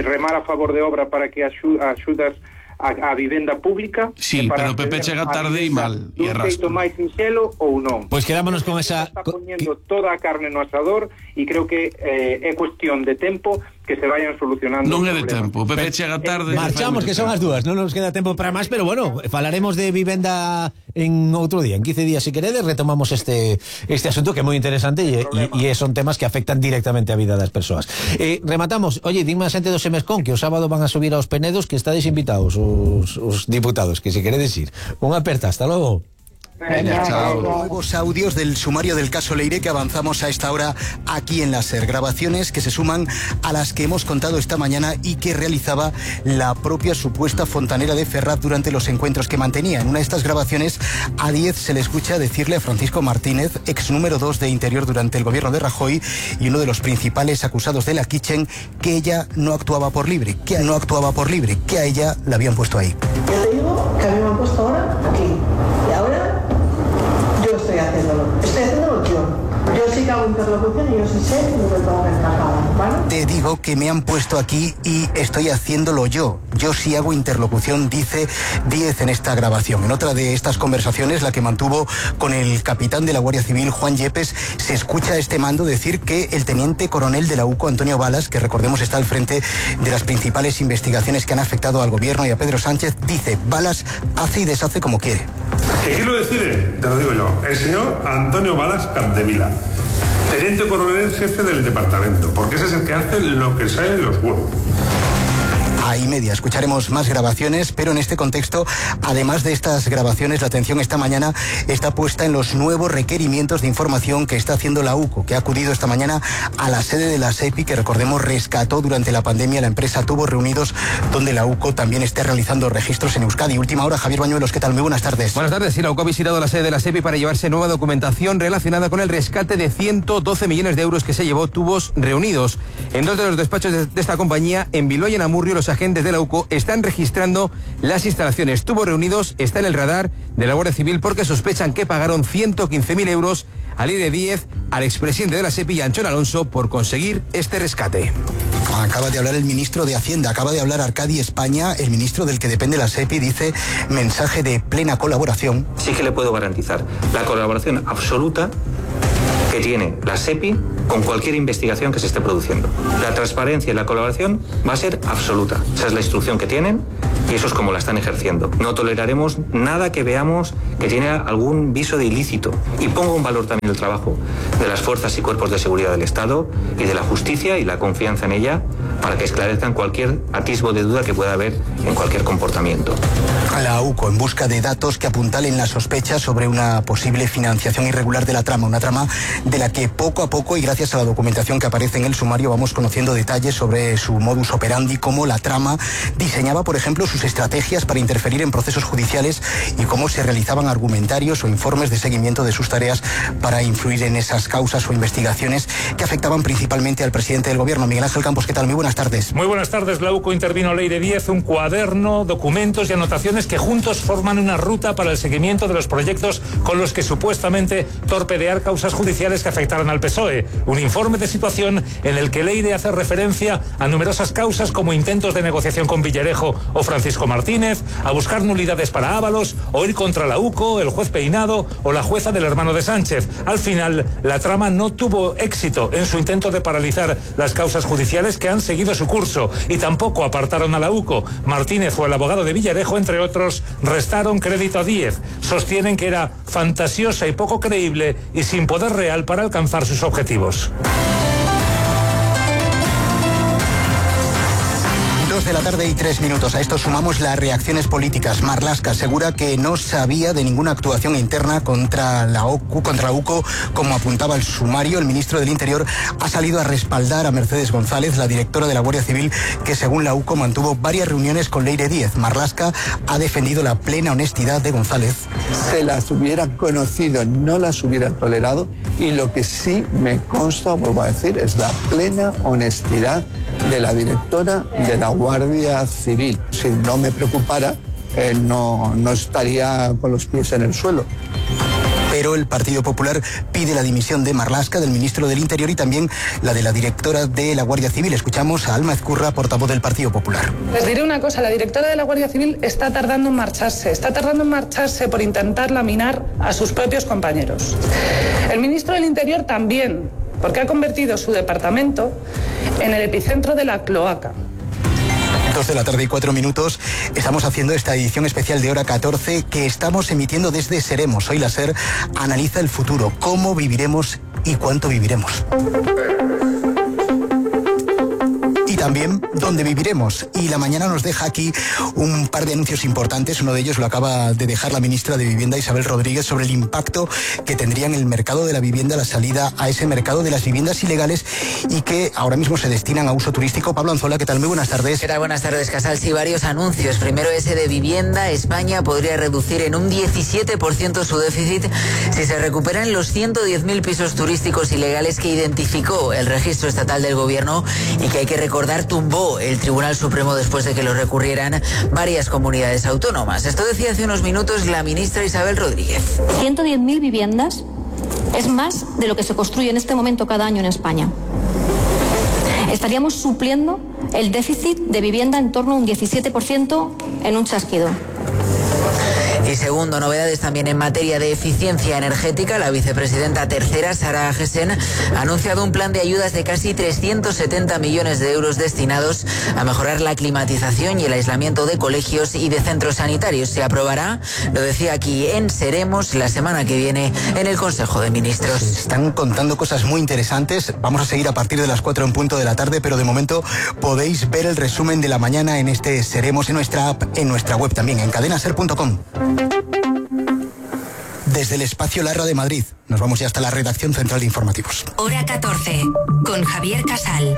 remar a favor de obra para que axudas a vivenda pública? Sí, pero o PP chega tarde e mal e arrastra. máis sinxelo ou non? Pois quedámonos con esa... Está poniendo toda a carne no asador e creo que é cuestión de tempo que se vayan solucionando. Non é de tempo, o PP chega tarde. Marchamos, que son as dúas, non nos queda tempo para máis, pero bueno, falaremos de vivenda en outro día, en 15 días si queredes, retomamos este asunto que é moi interesante e son temas que afectan directamente a vida das persoas. Rematamos, oye, dime a xente do Semescón que o sábado van a subir aos Penedos, que estáis invitados os diputados, que si queredes ir. Unha aperta, hasta logo. Nuevos audios del sumario del caso Leire que avanzamos a esta hora aquí en la SER. Grabaciones que se suman a las que hemos contado esta mañana y que realizaba la propia supuesta fontanera de Ferraz durante los encuentros que mantenía. En una de estas grabaciones, a 10 se le escucha decirle a Francisco Martínez, ex número 2 de Interior durante el gobierno de Rajoy y uno de los principales acusados de la Kitchen, que ella no actuaba por libre, que a ella la habían puesto ahí. Yo te digo que a mí me han puesto ahora aquí y ahora yo estoy haciéndolo yo. Yo sí que hago interlocución y yo sí sé lo que tengo que encajar, ¿vale? Te digo que me han puesto aquí y estoy haciéndolo yo. Yo sí hago interlocución, dice 10 en esta grabación. En otra de estas conversaciones, la que mantuvo con el capitán de la Guardia Civil, Juan Yepes, se escucha a este mando decir que el teniente coronel de la UCO, Antonio Balas, que recordemos está al frente de las principales investigaciones que han afectado al gobierno y a Pedro Sánchez, dice, Balas hace y deshace como quiere. ¿Qué quiero decir? Te lo digo yo. El señor Antonio Balas Capdevila, teniente coronel jefe del departamento, porque ese es el que hace lo que sale de los huevos. Ahí media, escucharemos más grabaciones, pero en este contexto, además de estas grabaciones, la atención esta mañana está puesta en los nuevos requerimientos de información que está haciendo la UCO, que ha acudido esta mañana a la sede de la SEPI, que recordemos rescató durante la pandemia la empresa Tubos Reunidos, donde la UCO también está realizando registros en Euskadi. Última hora, Javier Bañuelos, ¿qué tal? Muy buenas tardes. Buenas tardes, sí, la UCO ha visitado la sede de la SEPI para llevarse nueva documentación relacionada con el rescate de 112 millones de euros que se llevó Tubos Reunidos. En dos de los despachos de esta compañía, en Bilbao y en Amurrio, los agentes agentes de la UCO están registrando las instalaciones. Tubos Reunidos está en el radar de la Guardia Civil porque sospechan que pagaron 115.000 euros al Leire Díez, al expresidente de la SEPI, Anchón Alonso, por conseguir este rescate. Acaba de hablar el ministro de Hacienda, acaba de hablar Arcadi España, el ministro del que depende la SEPI, dice mensaje de plena colaboración. Sí que le puedo garantizar la colaboración absoluta que tiene la SEPI con cualquier investigación que se esté produciendo. La transparencia y la colaboración va a ser absoluta. Esa es la instrucción que tienen y eso es como la están ejerciendo. No toleraremos nada que veamos que tiene algún viso de ilícito. Y pongo en valor también el trabajo de las fuerzas y cuerpos de seguridad del Estado y de la justicia y la confianza en ella para que esclarezcan cualquier atisbo de duda que pueda haber en cualquier comportamiento. A la UCO en busca de datos que apuntalen las sospechas sobre una posible financiación irregular de la trama, una trama de la que poco a poco y gracias a la documentación que aparece en el sumario vamos conociendo detalles sobre su modus operandi, cómo la trama diseñaba, por ejemplo, sus estrategias para interferir en procesos judiciales y cómo se realizaban argumentarios o informes de seguimiento de sus tareas para influir en esas causas o investigaciones que afectaban principalmente al presidente del gobierno. Miguel Ángel Campos, ¿qué tal? Muy buenas tardes. Muy buenas tardes. La UCO intervino Leire Díez, un cuaderno, documentos y anotaciones que juntos forman una ruta para el seguimiento de los proyectos con los que supuestamente torpedear causas judiciales que afectaran al PSOE. Un informe de situación en el que Leire hace referencia a numerosas causas como intentos de negociación con Villarejo o Francisco Martínez, a buscar nulidades para Ábalos, o ir contra la UCO, el juez Peinado o la jueza del hermano de Sánchez. Al final, la trama no tuvo éxito en su intento de paralizar las causas judiciales que han seguido su curso y tampoco apartaron a la UCO. Martínez o el abogado de Villarejo, entre otros, restaron crédito a Díez. Sostienen que era fantasiosa y poco creíble y sin poder real para alcanzar sus objetivos. 2:03 A esto sumamos las reacciones políticas. Marlaska asegura que no sabía de ninguna actuación interna contra la UCO, como apuntaba el sumario. El ministro del Interior ha salido a respaldar a Mercedes González, la directora de la Guardia Civil, que según la UCO mantuvo varias reuniones con Leire Díez. Marlaska ha defendido la plena honestidad de González. Se las hubieran conocido, no las hubieran tolerado, y lo que sí me consta, vuelvo a decir, es la plena honestidad de la directora de la Guardia Civil. Si no me preocupara, no estaría con los pies en el suelo. Pero el Partido Popular pide la dimisión de Marlaska, del ministro del Interior, y también la de la directora de la Guardia Civil. Escuchamos a Alma Ezcurra, portavoz del Partido Popular. Les diré una cosa, la directora de la Guardia Civil está tardando en marcharse por intentar laminar a sus propios compañeros. El ministro del Interior también, porque ha convertido su departamento en el epicentro de la cloaca. 2:04 Estamos haciendo esta edición especial de Hora 14 que estamos emitiendo desde Seremos. Hoy la SER analiza el futuro, cómo viviremos y cuánto viviremos. Y también dónde viviremos. Y la mañana nos deja aquí un par de anuncios importantes. Uno de ellos lo acaba de dejar la ministra de Vivienda, Isabel Rodríguez, sobre el impacto que tendría en el mercado de la vivienda la salida a ese mercado de las viviendas ilegales y que ahora mismo se destinan a uso turístico. Pablo Anzola, ¿qué tal? Muy buenas tardes. ¿Qué tal? Buenas tardes, Casal. Sí, varios anuncios. Primero ese de vivienda. España podría reducir en un 17% su déficit si se recuperan los 110.000 pisos turísticos ilegales que identificó el registro estatal del gobierno y que hay que recordar tumbó el Tribunal Supremo después de que lo recurrieran varias comunidades autónomas. Esto decía hace unos minutos la ministra Isabel Rodríguez. 110.000 viviendas es más de lo que se construye en este momento cada año en España. Estaríamos supliendo el déficit de vivienda en torno a un 17% en un chasquido. Y segundo, novedades también en materia de eficiencia energética. La vicepresidenta tercera, Sara Agesen, ha anunciado un plan de ayudas de casi 370 millones de euros destinados a mejorar la climatización y el aislamiento de colegios y de centros sanitarios. Se aprobará, lo decía aquí en Seremos, la semana que viene en el Consejo de Ministros. Están contando cosas muy interesantes. Vamos a seguir a partir de las 4:00 p.m, pero de momento podéis ver el resumen de la mañana en este Seremos, en nuestra app, en nuestra web también, en cadenaser.com. Desde el espacio Larra de Madrid, nos vamos ya hasta la redacción central de informativos. Hora 14, con Javier Casal.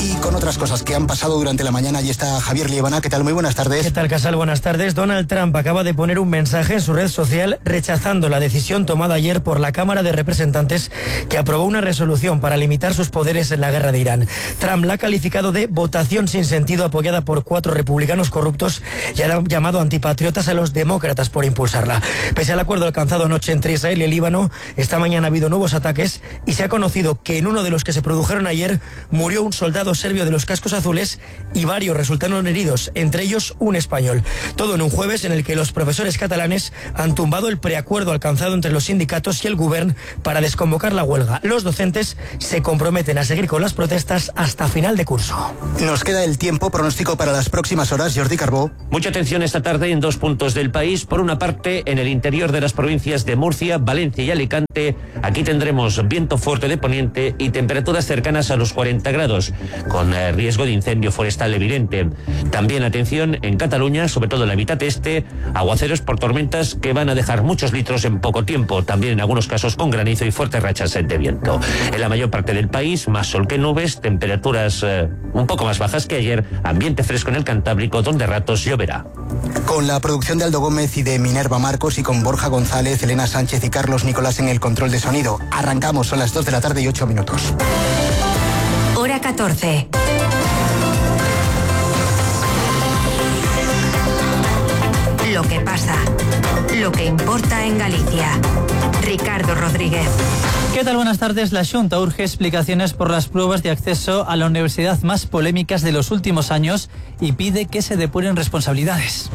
Y con otras cosas que han pasado durante la mañana. Allí está Javier Liebana. ¿Qué tal? Muy buenas tardes. ¿Qué tal, Casal? Buenas tardes. Donald Trump acaba de poner un mensaje en su red social rechazando la decisión tomada ayer por la Cámara de Representantes, que aprobó una resolución para limitar sus poderes en la guerra de Irán. Trump la ha calificado de votación sin sentido, apoyada por 4 republicanos corruptos, y ha llamado antipatriotas a los demócratas por impulsarla. Pese al acuerdo alcanzado anoche entre Israel y el Líbano, esta mañana ha habido nuevos ataques y se ha conocido que en uno de los que se produjeron ayer murió un soldado serbio de los cascos azules y varios resultaron heridos, entre ellos un español. Todo en un jueves en el que los profesores catalanes han tumbado el preacuerdo alcanzado entre los sindicatos y el Govern para desconvocar la huelga. Los docentes se comprometen a seguir con las protestas hasta final de curso. Nos queda el tiempo. Pronóstico para las próximas horas, Jordi Carbó. Mucha atención esta tarde en 2 puntos del país. Por una parte, en el interior de las provincias de Murcia, Valencia y Alicante. Aquí tendremos viento fuerte de poniente y temperaturas cercanas a los 40 grados, con riesgo de incendio forestal evidente. También atención en Cataluña, sobre todo en la mitad este, aguaceros por tormentas que van a dejar muchos litros en poco tiempo, también en algunos casos con granizo y fuertes rachas de viento. En la mayor parte del país, más sol que nubes, temperaturas un poco más bajas que ayer, ambiente fresco en el Cantábrico, donde a ratos lloverá. Con la producción de Aldo Gómez y de Minerva Marcos, y con Borja González, Elena Sánchez y Carlos Nicolás en el control de sonido. Arrancamos, son las 2 de la tarde y 8 minutos. Hora 14. Lo que pasa, lo que importa en Galicia. Ricardo Rodríguez. ¿Qué tal? Buenas tardes. La Xunta urge explicaciones por las pruebas de acceso a la universidad más polémicas de los últimos años y pide que se depuren responsabilidades.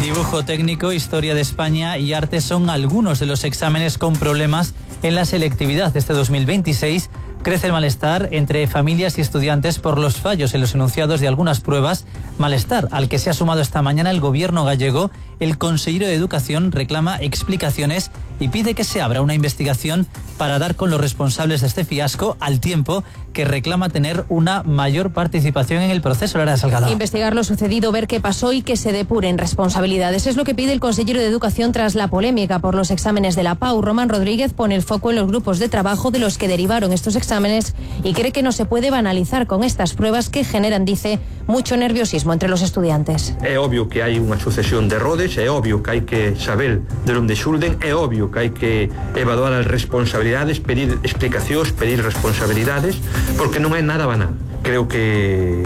Dibujo técnico, historia de España y arte son algunos de los exámenes con problemas en la selectividad de este 2026. Crece el malestar entre familias y estudiantes por los fallos en los enunciados de algunas pruebas, malestar al que se ha sumado esta mañana el gobierno gallego. El consejero de Educación reclama explicaciones y pide que se abra una investigación para dar con los responsables de este fiasco, al tiempo que reclama tener una mayor participación en el proceso. Lara Salgado. Investigar lo sucedido, ver qué pasó y que se depuren responsabilidades. Es lo que pide el consejero de Educación tras la polémica por los exámenes de la PAU. Román Rodríguez pone el foco en los grupos de trabajo de los que derivaron estos exámenes y cree que no se puede banalizar con estas pruebas que generan, dice, mucho nerviosismo entre los estudiantes. É obvio que hai unha sucesión de errores, é obvio que hai que saber de onde xulden, é obvio que hai que evaluar as responsabilidades, pedir explicacións, pedir responsabilidades, porque non é nada banal. Creo que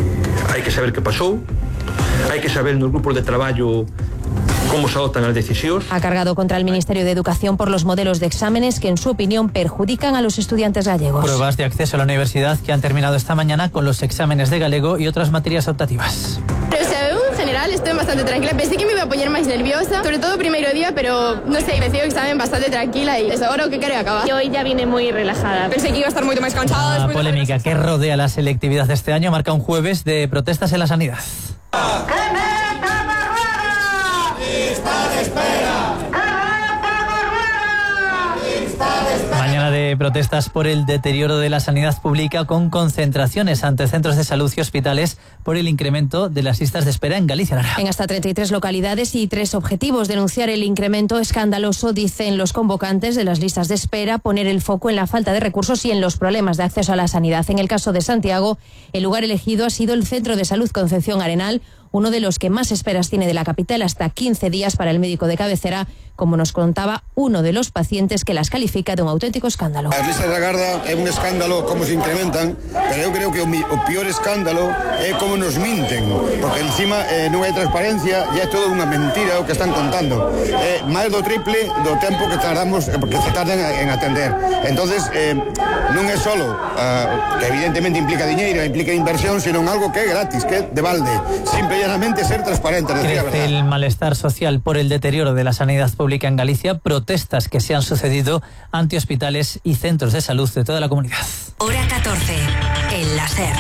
hai que saber que pasou, hai que saber nos grupos de traballo cómo se adoptan las decisiones. Ha cargado contra el Ministerio de Educación por los modelos de exámenes que, en su opinión, perjudican a los estudiantes gallegos. Pruebas de acceso a la universidad que han terminado esta mañana con los exámenes de galego y otras materias optativas. Pero, o sea, en general estoy bastante tranquila. Pensé que me iba a poner más nerviosa, sobre todo primer día, pero no sé, empecé el examen bastante tranquila y es ahora que quiero acabar. Yo hoy ya vine muy relajada. Pensé que iba a estar mucho más cansada. La polémica que rodea la selectividad de este año marca un jueves de protestas en la sanidad. Mañana de protestas por el deterioro de la sanidad pública, con concentraciones ante centros de salud y hospitales por el incremento de las listas de espera en Galicia. En hasta 33 localidades y 3 objetivos: denunciar el incremento escandaloso, dicen los convocantes, de las listas de espera, poner el foco en la falta de recursos y en los problemas de acceso a la sanidad. En el caso de Santiago, el lugar elegido ha sido el Centro de Salud Concepción Arenal, uno de los que más esperas tiene de la capital, hasta 15 días para el médico de cabecera, como nos contaba uno de los pacientes que las califica de un auténtico escándalo. As listas da Garda é un escándalo como se incrementan, pero eu creo que o peor escándalo é como nos minten, porque encima non hai transparencia e é todo unha mentira o que están contando. É máis do triple do tempo que tardamos, porque se tardan en atender. Entonces, non é solo que evidentemente implica diñeiro, implica inversión, sino algo que é gratis, que é de balde. Simple y llanamente ser transparente. Crece el malestar social por el deterioro de la sanidad pública en Galicia, protestas que se han sucedido ante hospitales y centros de salud de toda la comunidad. Hora 14, el láser.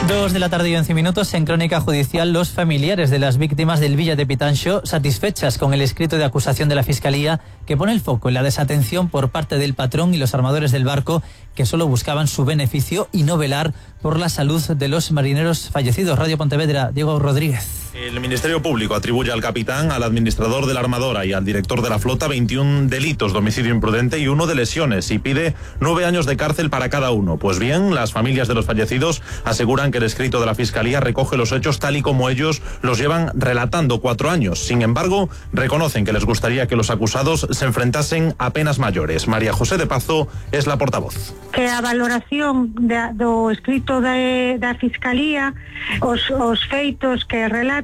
2 de la tarde y 11 minutos. En Crónica Judicial, los familiares de las víctimas del Villa de Pitanxo satisfechas con el escrito de acusación de la Fiscalía, que pone el foco en la desatención por parte del patrón y los armadores del barco, que solo buscaban su beneficio y no velar por la salud de los marineros fallecidos. Radio Pontevedra, Diego Rodríguez. El Ministerio Público atribuye al capitán, al administrador de la armadora y al director de la flota 21 delitos de homicidio imprudente y 1 de lesiones y pide 9 años de cárcel para cada uno. Pues bien, las familias de los fallecidos aseguran que el escrito de la Fiscalía recoge los hechos tal y como ellos los llevan relatando 4 años. Sin embargo, reconocen que les gustaría que los acusados se enfrentasen a penas mayores. María José de Pazo es la portavoz. Que a valoración do escrito da Fiscalía, os feitos que relata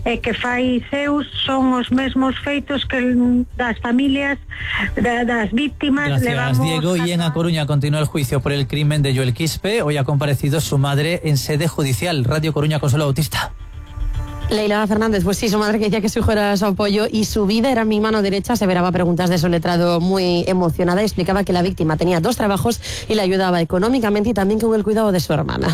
e que fai seus son os mesmos feitos que das familias das víctimas. Gracias, Diego. Y en A Coruña continúa el juicio por el crimen de Joel Quispe. Hoy ha comparecido su madre en sede judicial. Radio Coruña, Consuelo Bautista. Leila Fernández, pues sí, su madre que decía que su hijo era su apoyo y su vida era mi mano derecha, aseveraba preguntas de su letrado muy emocionada y explicaba que la víctima tenía 2 trabajos y le ayudaba económicamente y también con el cuidado de su hermana.